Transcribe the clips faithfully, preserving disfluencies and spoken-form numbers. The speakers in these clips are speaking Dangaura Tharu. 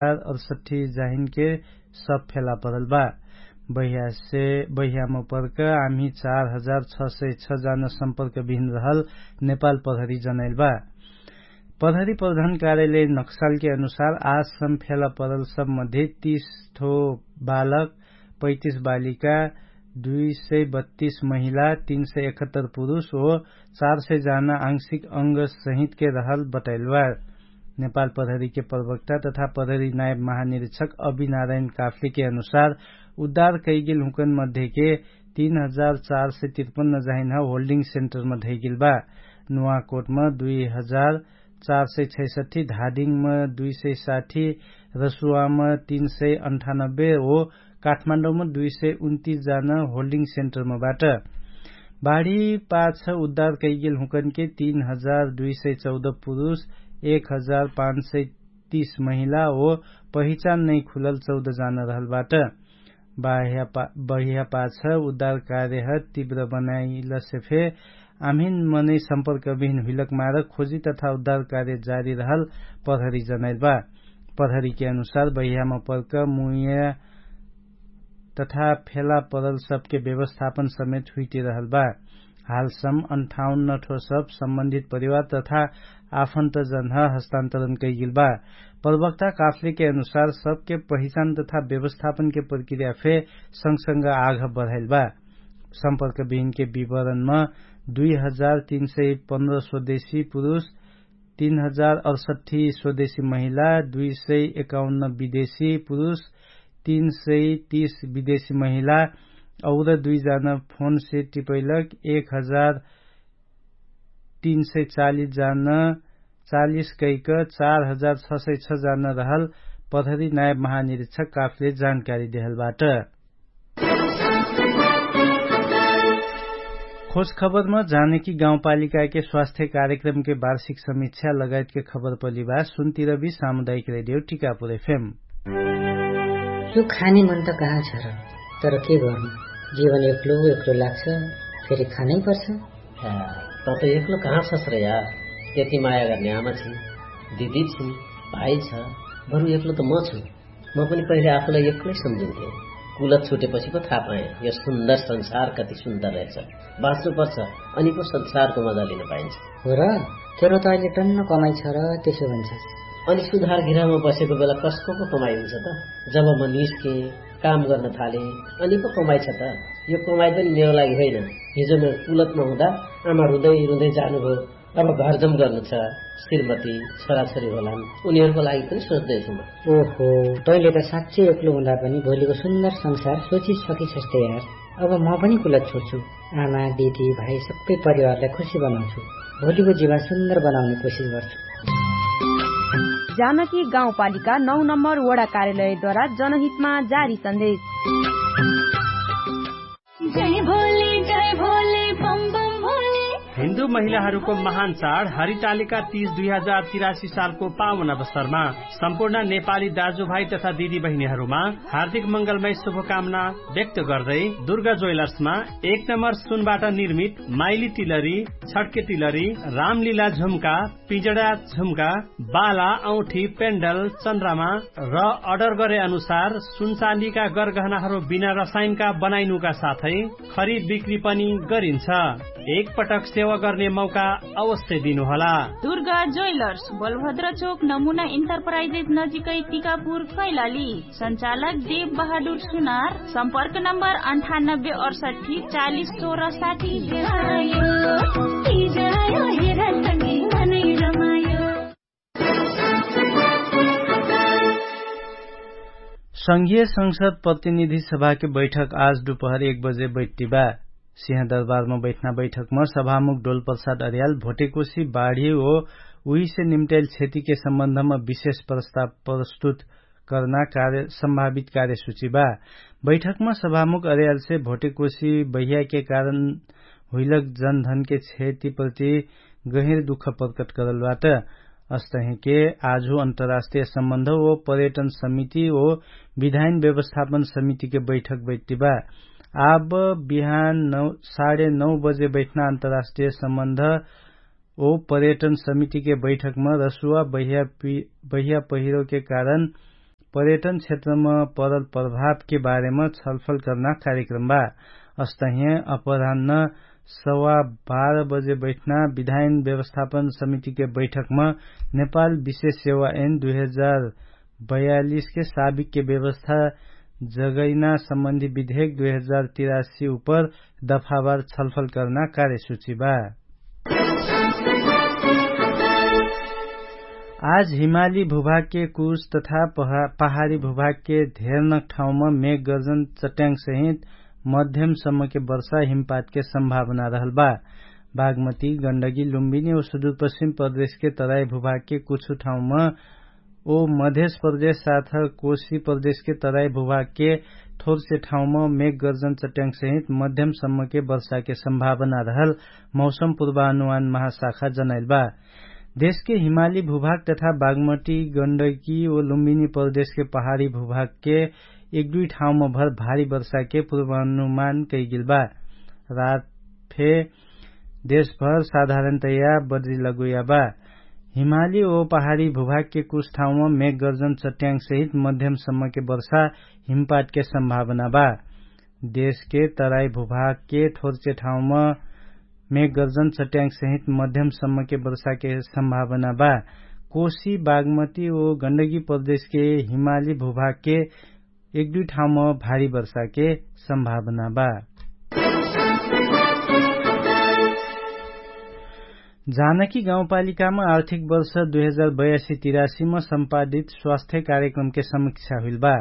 अरसठी जाहिनके सब फेला परल बा। बहियासे बहियाम पर्क आम्ही चार हजार छ सय छ जान सम्पर्क बिहिन रहल नेपाल प्रहरी जनैल बा। प्रहरी प्रधान कार्यालय नक्सालके अनुसार आसम फेला परल सब मध्ये तीस ठो बालक, पैतिस बालिका, दुई सय बत्तिस महिला, तीन सय एकहत्तर पुरुष ओ चार सय जाना आंशिक अंग सहितके रहल बटैलवार। नेपाल प्रहरीके प्रवक्ता तथा प्रहरी नायब महानिरीक्षक अभिनारायण काफ्लेके अनुसार उद्धार कैगेल हुँकन मध्येके तीन हजार चार सय तिरपन्न जाहिन होल्डिङ सेन्टरमा धैगेल बा। नुवाकोटमा दुई हजार चार सय छैसठी, धादिङमा दुई सय साठी, रसुवामा तीन सय अन्ठानब्बे ओ काठमाडौमा दुई सय उन्तिस जान होल्डिङ सेन्टरमा बाट। बाढी पाछ उद्धार कैगेल हुँकनके तीन हजार दुई सय चौध पुरुष, एक हजार पाँच सय तीस महिला ओ पहिचान नै खुलल चौध जान रहल बाट। बहिया पाछ उद्धार कार्यह तीव्र बनाइलसे फे आम्हिन मनै सम्पर्क बिहिन हुइलक मार खोजी तथा उद्धार कार्य जारी रहल प्रहरी जनैल बा। प्रहरीके अनुसार बहियामा पर्क मुइया तथा फेला परल सबके व्यवस्थापन समेत हुइटिरहल बा। हालसम अन्ठाउन्न ठो सब सम्बन्धित परिवार तथा आफन्तजनह हस्तान्तरण कैगेल बा। प्रवक्ता काफ्लेके अनुसार सबके पहिचान तथा व्यवस्थापनके प्रक्रिया फे सँगसँग आघ बढाइल बा। सम्पर्क बिहिनके विवरणमा दुई हजार तीन सय पन्ध्र स्वदेशी पुरुष, तीन हजार अडसठी स्वदेशी महिला, दुई सय एकाउन्न विदेशी पुरुष, तीन सय तीस विदेशी महिला और दुई जान फोनसे टिपैलक एक हजार तीन सय चालिस जान चालिस कैक चार हजार छ सय छ जान रहल प्रहरी नायब महानिरीक्षक काफले जानकारी देहल बाट। खोज खबरमा जानकी गाउँपालिकाके स्वास्थ्य कार्यक्रमके वार्षिक समीक्षा लगायतके खबर पलिबा सुन्तिरबी सामुदायिक रेडियो टिकापुर एफएम। यो खाने मन त कहाँ छ र? तर के गर्नु? जीवन एक्लो एक्लो लाग्छ। फेरि खानै पर्छ। त त एक्लो कहाँ छस र यार? यति माया गर्ने आमा छिन्, दिदी छिन्, भाइ छ। बरु एक्लो त म छु। म पनि पहिले आफूलाई एक्लै सम्झिन्थे। कुलत छुटेपछि पो थाहा पाएँ यो सुन्दर संसार कति सुन्दर रहेछ। बाँच्नु पर्छ। अनि पो संसारको मजा लिन पाइन्छ। हो र? तेरो त अहिले टन्न कमाइ छ र त्यसो भन्छ। अनि सुधार घिरामा बसेको बेला कसको पो कमाइ हुन्छ त? जब म निस्केँ, काम गर्न थालेँ, अनि पो कमाइ छ त? यो कमाइ पनि मेरो लागि होइन। हिजो म कुलतमा हुँदा आमा रुँदै रुँदै जानुभयो। अब घरजम गर्नु छ। श्रीमती, छोराछोरी होलान्, उनीहरूको लागि पनि सोच्दैछु म। ओहो, तैँले त साँच्चै एक्लो हुँदा पनि भोलिको सुन्दर संसार सोचिसकिछस् त यार। अब म पनि कुलत छोड्छु। आमा, दिदी, भाइ सबै परिवारलाई खुसी बनाउँछु। भोलिको जीवन सुन्दर बनाउने कोसिस गर्छु। जानकी गाउँपालिका नौ नम्बर वडा कार्यालयद्वारा जनहितमा जारी सन्देश। जय भोले जय भोले बम बम भोले। हिन्दू महिलाहरूको महान चाड हरितालिका तीज दुई हजार तिरासी सालको पावन अवसरमा सम्पूर्ण नेपाली दाजुभाइ तथा दिदीबहिनीहरूमा हार्दिक मङ्गलमय शुभकामना व्यक्त गर्दै दुर्गा ज्वेलर्समा एक नम्बर सुनबाट निर्मित माइली तिलरी, छड्के तिलरी, रामलीला झुम्का, पिजडा झुम्का, बाला, औठी, पेन्डल, चन्द्रमा र अर्डर गरे अनुसार सुनचाँदीका गरगहनाहरू बिना रसायनका बनाइनुका साथै खरिद बिक्री पनि गरिन्छ। एक पटक सेवा गर्ने मौका अवश्य दिनुहोला। दुर्गा ज्वेलर्स, बलभद्र चोक, नमुना इन्टरप्राइजेस नजिकै, टिकापुर, कैलाली। सञ्चालक देव बहादुर सुनार। सम्पर्क नम्बर अन्ठानब्बे अडसठी चालिस सोह्र साठी। संघीय संसद प्रतिनिधि सभाके बैठक आज दुपहर एक बजे बैठ्टिबा। सिंहदरबारमा बैठना बैठकमा सभामुख डोलप्रसाद अर्याल भोटेकोसी बाढी ओ उहिसे निम्ट्याइल क्षतिके सम्बन्धमा विशेष प्रस्ताव प्रस्तुत कर्ना सम्भावित कार्यसूची बा। बैठकमा सभामुख अर्यालसे भोटेकोसी बहियाके कारण हुइलक जनधनके क्षतिप्रति गहिर दुख प्रकट करलबाट। अस्तहिके आजु अन्तर्राष्ट्रिय सम्बन्ध ओ पर्यटन समिति ओ विधायन व्यवस्थापन समितिके बैठक बैठ्टिबा। आब बिहान साढे नौ बजे बैठना अन्तर्राष्ट्रिय सम्बन्ध ओ पर्यटन समितिके बैठकमा रसुवा बहिया पहिरोके कारण पर्यटन क्षेत्रम परल प्रभावके बारेम छलफल कर्ना कार्यक्रम बा। अस्तहिय अपरान्न सवा बाह्र बजे बैठना विधायन व्यवस्थापन समितिके बैठकम नेपाल विशेष सेवा एन दुई हजार बयालिसके साबिकके व्यवस्था जगैना सम्बन्धी विधेक दुई हजार तिरासी उपर दफावार छलफल कर्ना कार्यसूची बा। आज हिमाली भूभागके कुछ तथा पहाडी भूभागके धेरनक ठाउँम मेघगर्जन चट्याङ्गसहित मध्यमसम्मके वर्षा हिमपातके सम्भावना रहल बा। बागमती गण्डगी लुम्बिनी ओ सुदूरपश्चिम प्रदेशके तराई भूभागके कुछु ठाउँम ओ मध्यस प्रदेश साथ कोशी प्रदेशके तराई भूभागके थोरसे ठाउँम मेघगर्जन चट्याङ्गसहित मध्यमसम्मके वर्षाके सम्भावना रहल मौसम पूर्वानुमान महाशाखा जनैल बा। देशके हिमाली भूभाग तथा बागमटी गण्डकी ओ लुम्बिनी प्रदेशके पहाडी भूभागके एक दुई ठाउँम भर भारी वर्षाके पूर्वानुमान कैगेल बा। रात फे देशभर साधारणतया बद्री लगुया बा। हिमाली ओ पहाडी भूभागके कुछ ठाउँम मेघगर्जन चट्याङ्गसहित मध्यमसम्मके वर्षा हिमपातके सम्भावना बा। देशके तराई भूभागके थोरचे ठाउँम मेघगर्जन चट्याङ्गसहित मध्यमसम्मके वर्षाके सम्भावना बा। कोशी बागमती ओ गण्डगी प्रदेशके हिमाली भूभागके एक दुई ठाउँम भारी वर्षाके सम्भावना बा। जानकी गाउँपालिकामा आर्थिक वर्ष दुई हजार बयासी तिरासीमा सम्पादित स्वास्थ्य कार्यक्रमके समीक्षा हुइल बा।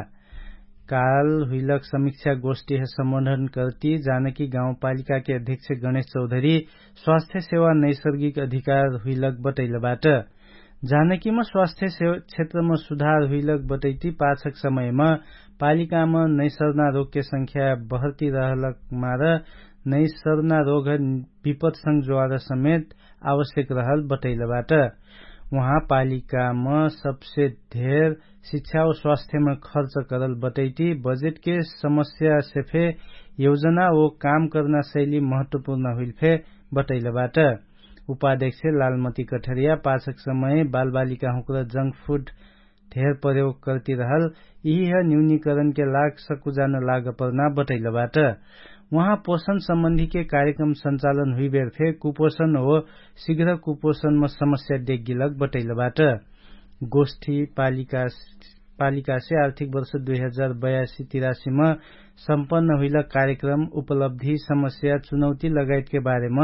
काल हुइलक समीक्षा गोष्ठीह सम्बोधन कर्ती जानकी गाउँपालिकाके अध्यक्ष गणेश चौधरी स्वास्थ्य सेवा नैसर्गिक अधिकार हुइलक बटैलबाट। जानकीमा स्वास्थ्य क्षेत्रमा सुधार हुइलक बटैती पाछक समयमा पालिकामा नैसर्ना रोगके संख्या बहर्ती रहलक मार नैसर्ना रोग विपत्संग ज्वार समेत आवश्यक रहल बटैलबाट। उहाँ पालिकामा सबसे धेर शिक्षा ओ स्वास्थ्यमा खर्च करल बटैती बजेटके समस्या सेफे योजना ओ काम कर्ना शैली महत्वपूर्ण हुइल फे बटैलबाट। उपाध्यक्ष लालमती कठरिया पाछक समय बालबालिकाहुँक्र जंक फुड धेर प्रयोग कर्तिरहल यिहिह न्यूनीकरणके लाग सकुजान लाग पर्ना बटैलबाट। उहाँ पोषण सम्बन्धीके कार्यक्रम सञ्चालन हुइबेर फे कुपोषण हो शिघ्र कुपोषणम समस्या देग्गिलक बटैलबाट। गोष्ठी पालिकासे आर्थिक वर्ष दुई हजार बयासी तिरासीम सम्पन्न हुइलक कार्यक्रम उपलब्धि समस्या चुनौती लगायतके बारेम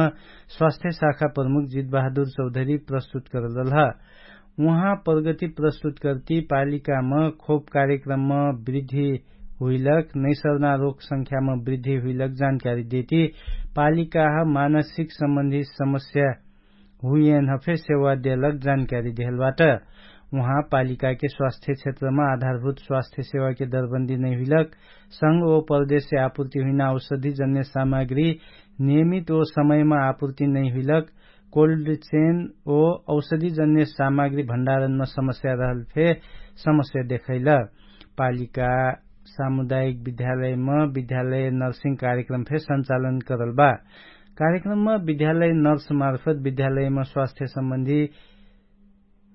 स्वास्थ्य शाखा प्रमुख जितबहादुर चौधरी प्रस्तुत करललह। उहाँ प्रगति प्रस्तुत कर्ती पालिकाम खोप कार्यक्रमम वृद्धि हुइलक नैसर्ना रोग संख्याम वृद्धि हुइलक जानकारी देती पालिकाह मानसिक सम्बन्धी समस्या हुइएन हफे सेवा देलक जानकारी देहलबाट। उहाँ पालिकाके स्वास्थ्य क्षेत्रमा आधारभूत स्वास्थ्य सेवाके दरबन्दी नैहुइलक संग ओ परदेशसे आपुर्ति हुइना औषधि जन्य सामग्री नियमित ओ समयमा आपुर्ति नैहुइलक कोल्ड चेन ओ औषधि जन्य सामग्री भण्डारणमा समस्या रहल फे समस्या देखैल। पालिका सामुदायिक विद्यालयमा विद्यालय नर्सिङ कार्यक्रम फे सञ्चालन करल बा। कार्यक्रममा विद्यालय नर्स मार्फत विद्यालयमा स्वास्थ्य सम्बन्धी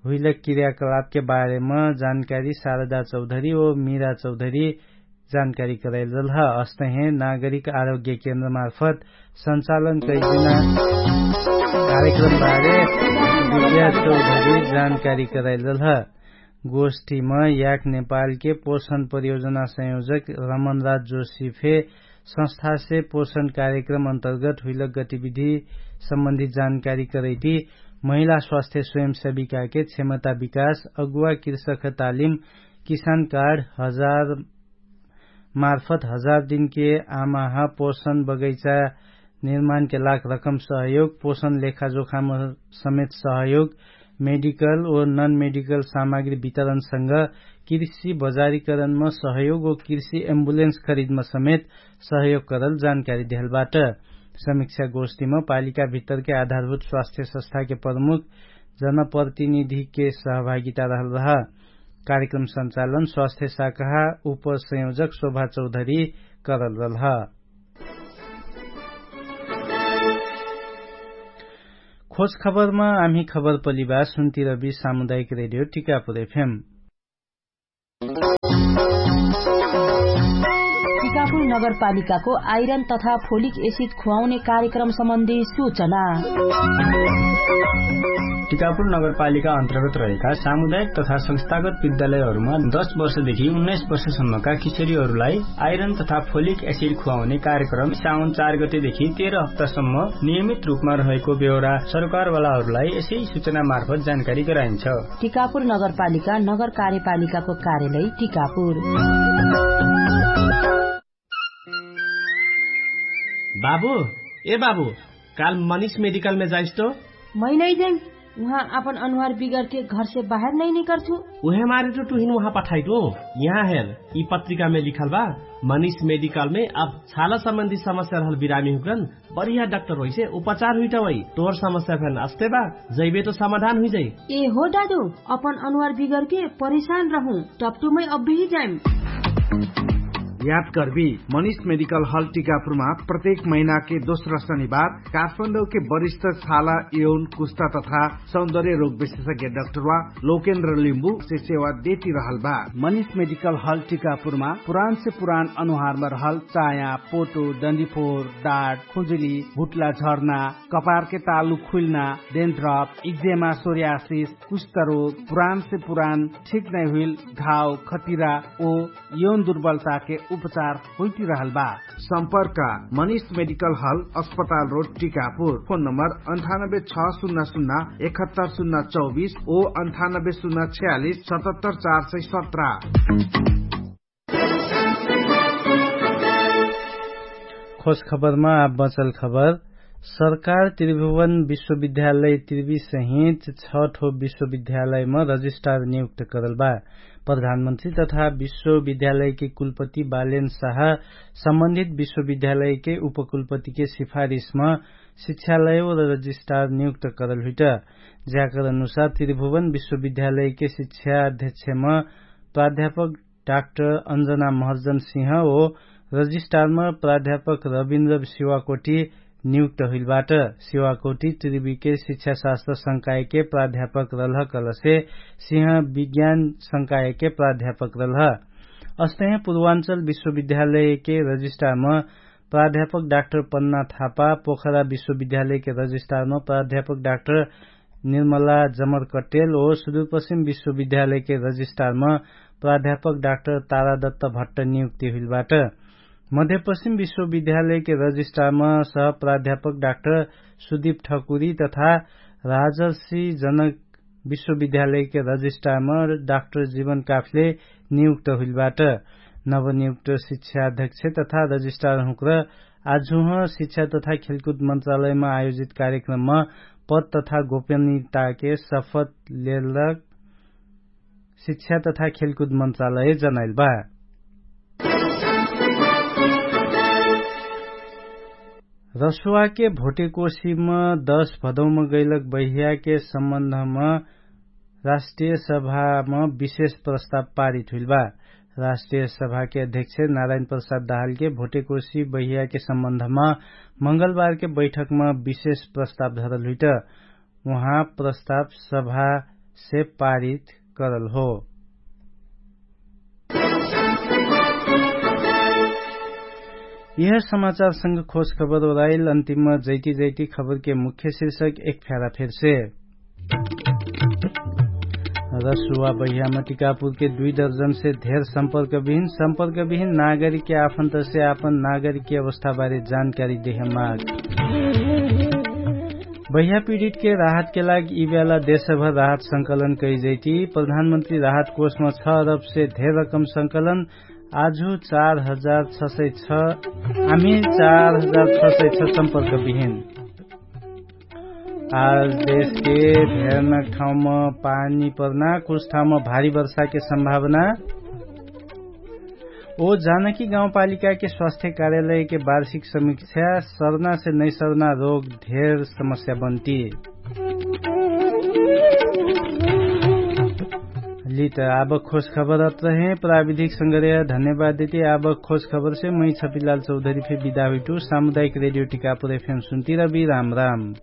हुइलक क्रियाकलापके बारेमा जानकारी शारदा चौधरी ओ मिरा चौधरी जानकारी करैलरलह। अस्तहे नागरिक आरोग्य केन्द्र मार्फत सञ्चालन कैदिना कार्यक्रम बारे विद्या चौधरी जानकारी करैलरलह। गोष्ठीमा याक नेपालके पोषण परियोजना संयोजक रमनराज जोशी फे संस्थासे पोषण कार्यक्रम अन्तर्गत हुइलक गतिविधि सम्बन्धी जानकारी करैती महिला स्वास्थ्य स्वयंसेविकाके क्षमता विकास अगुवा कृषक तालिम किसान कार्ड हजार मार्फत हजार दिनके आमाह पोषण बगैचा निर्माणके लाग रकम सहयोग पोषण लेखाजोखाम समेत सहयोग मेडिकल ओ नन मेडिकल सामग्री वितरणसँग कृषि बजारीकरणमा सहयोग ओ कृषि एम्बुलेन्स खरिदमा समेत सहयोग करल जानकारी देहलबाट। समीक्षा गोष्ठीमा पालिका भित्तरके आधारभूत स्वास्थ्य संस्थाके प्रमुख जनप्रतिनिधिके सहभागिता रहल रह। कार्यक्रम सञ्चालन स्वास्थ्य शाखा उपसंयोजक शोभा चौधरी करल रहल ह। खोज खबरमा आम्ही खबर पलिबा सुन्ती रबी सामुदायिक रेडियो टिकापुर एफएम। टिकापुर नगरपालिकाको आइरन तथा फोलिक एसिड खुवाउने कार्यक्रम सम्बन्धी सूचना। टिकापुर नगरपालिका अन्तर्गत रहेका सामुदायिक तथा संस्थागत विद्यालयहरूमा दस वर्षदेखि उन्नाइस वर्षसम्मका किशोरीहरूलाई आइरन तथा फोलिक एसिड खुवाउने कार्यक्रम साउन चार गतेदेखि तेह्र हप्तासम्म नियमित रूपमा रहेको बेहोरा सरकारवालाहरूलाई यसै सूचना मार्फत जानकारी गराइन्छ। टिकापुर नगरपालिका नगर कार्यपालिकाको कार्यालय टिकापुर। बाबु, ए बाबु, काल मनिष मेडिकलमे जाइस्तो? मै नै जाइम। उहाँ आपन अनुहार बिगरके घरसे बाहेर नै निकर्छु। उहे मारे टु टुहिन उहाँ पठाइटु। यहाँ हेर, यि पत्रिकामे लिखल बा, मनिष मेडिकलमे अब छाला सम्बन्धी समस्या रहल बिरामी हुकरन बढिया डाक्टर होइसे उपचार हुइटा वै। तोर समस्या फेन अस्ते बा, जैबे तो समाधान हुइजै। ए हो दादु, अपन अनुहार बिगरके परिशान रहु, टप्टुमै अब्बिही जाइम। याद कर्बी, मनिष मेडिकल हल टिकापुरमा प्रत्येक महिनाके दोस्रा शनिबार काठमाडौके वरिष्ठ छाला, यौन, कुस्ता तथा सौन्दर्य रोग विशेषज्ञ डाक्टरवा लोकेन्द्र लिम्बुसे सेवा देति रहल बा। मनिष मेडिकल हल टिकापुरमा पुरानसे पुरान अनुहारमा रहल चाया, पोटो, डन्डीफोर, डाट, खुजुली, भुट्ला झर्ना, कपारके तालु खुइल्ना, डेन्ड्रप, इक्जेमा, सोर्यासिस, कुष्ठरोग, पुरानसे पुरान ठिक नै हुइल घाव, खतिरा ओ यौन दुर्बलताके उपचार हुइटिरहल बा। सम्पर्क, मनिष मेडिकल हल, अस्पताल रोड, टिकापुर। फोन नम्बर अन्ठानब्बे छ सुन्ना सुन्ना एकहत्तर सुन्ना चौबिस ओ अन्ठानब्बे सुन्ना छ्यालिस सतहत्तर चार सय सत्र। खोज खबरमा आब बचल खबर। सरकार त्रिभुवन विश्वविद्यालय त्रिवी सहित छ ठो विश्वविद्यालयमा रजिस्ट्रार नियुक्त करल बा। प्रधानमन्त्री तथा विश्वविद्यालयके कुलपति बालेन साह सम्बन्धित विश्वविद्यालयके उपकुलपतिके सिफारिसमा शिक्षालय व रजिस्ट्रार नियुक्त करल हुइट। ज्याकर अनुसार त्रिभुवन विश्वविद्यालयके शिक्षा अध्यक्षमा प्राध्यापक डाक्टर अञ्जना महर्जन सिंह ओ रजिस्ट्रारमा प्राध्यापक रविन्द्र शिवाकोटी नियुक्त हुइलबाट। शिवाकोटी त्रिवीके शिक्षाशास्त्र संकायके प्राध्यापक रलह कलसे सिंह विज्ञान संकायके प्राध्यापक रलह। अस्तहे पूर्वाञ्चल विश्वविद्यालयके रजिस्ट्रारमा प्राध्यापक डाक्टर पन्ना थापा, पोखरा विश्वविद्यालयके रजिस्ट्रारमा प्राध्यापक डाक्टर निर्मला जमर कट्टेल ओ सुदूरपश्चिम विश्वविद्यालयके रजिस्ट्रारमा प्राध्यापक डाक्टर तारादत्त भट्ट नियुक्ति हुइलबाट। मध्यपश्चिम विश्वविद्यालयके रजिस्ट्रारमा सह प्राध्यापक डाक्टर सुदीप ठकुरी तथा राजर्षि जनक विश्वविद्यालयके रजिस्ट्रारमा डाक्टर जीवन काफले नियुक्त हुइलबाट। नवनियुक्त शिक्षा अध्यक्ष तथा रजिस्ट्रार हुँक्र आजुह शिक्षा तथा खेलकुद मन्त्रालयमा आयोजित कार्यक्रममा पद तथा गोपनीयताके शपथ लेलक शिक्षा तथा खेलकुद मन्त्रालय जनाइल बा। रसुवाके भोटेकोसीम दश भदौम गैलक बहियाके सम्बन्धम राष्ट्रिय सभाम विशेष प्रस्ताव पारित हुइल बा। राष्ट्रिय सभाके अध्यक्ष नारायण प्रसाद दहालके भोटेकोसी बहियाके सम्बन्धम मङ्गलबारके बैठकम विशेष प्रस्ताव धरल हुइट। उहाँ प्रस्ताव सभासे पारित करल हो। यह समाचार संग खोज खबर ओराइल अन्तिम जैती जैती खबरके मुख्य शिर्षक एक फ्यारा फेरसे। रसुवा बहियामा टिकापुरके दुई दर्जनसे धेर सम्पर्क बिहिन सम्पर्क बिहिन नागरिकके आफन्तसे आपन नागरिकके अवस्थाबारे जानकारी देहमाग। बहिया पीडितके राहतके लाग यि बेला देशभर राहत संकलन कैजैती प्रधानमन्त्री राहत कोषमा छ अरबसे धेर रकम संकलन। आजु चार हजार छ सय छ आमी चार हजार छ सय छ सम्पर्क बिहिन। आज देशके भेर्नक ठाउँमा पानी पर्ना कुछ ठाउँमा भारी वर्षाके सम्भावना। ओ जानकी गाउँपालिकाके स्वास्थ्य कार्यालयके वार्षिक समीक्षा सर्नासे नैसर्ना रोग धेर समस्या बन्ती। लित आब खोज खबर अत्रहे प्राविधिक संग्रह धन्यवाद देती आब खोज खबरसे मै छपिलाल चौधरी फे विदा हुइटु सामुदायिक रेडियो टिकापुर एफएम सुन्ती रबी राम राम।